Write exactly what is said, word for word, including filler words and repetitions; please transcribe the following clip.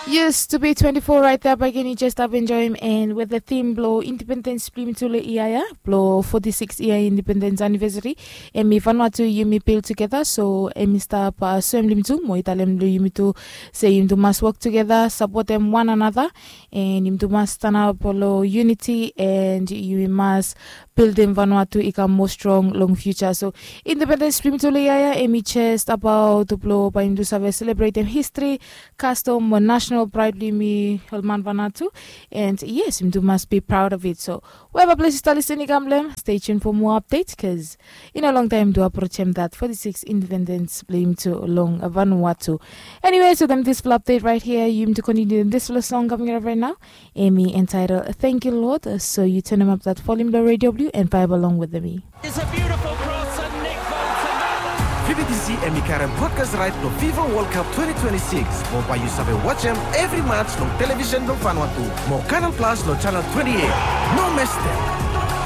Yes, to be twenty-four right there, bae yu jes stap enjoem, and with the theme blo independence blo yumi tu lo ia ya, blo forty-six year independence anniversary, and mi Vanuatu yumi build together, so and mi stap uh, soem lo yumi tu, mo i talem lo yumi tu, se yumi tu mas work together, support them one another, and yumi tu mas stand up lo unity, and yumi mas buildim Vanuatu i kam more strong long future. So independence blo yumi tu lo ia ya, and mi just about blo bae yumi tu save celebratem history, custom mo national pride blo yumi ol man Vanuatu. And yes, yumi tu mas be proud of it. So wherever ples yu stap listening i kam lo hem, stay tuned for more updates, cause i no long taem tu approach hem that forty-six independence blo yumi tu long Vanuatu. Anyway, so dem this full update right here, yumi tu continue this full song coming up right now. Emi entitled Thank You Lord. So you turn them up that volume lo radio blo yu and vibe along with me. It's a beautiful cross and Nick Bolton. Fi bi disi emi karem broadcast right lo FIFA World Cup twenty twenty-six. Mo bae yu save watch hem every match long television lo Vanuatu. Mo Canal Plus lo channel twenty-eight. No miss them.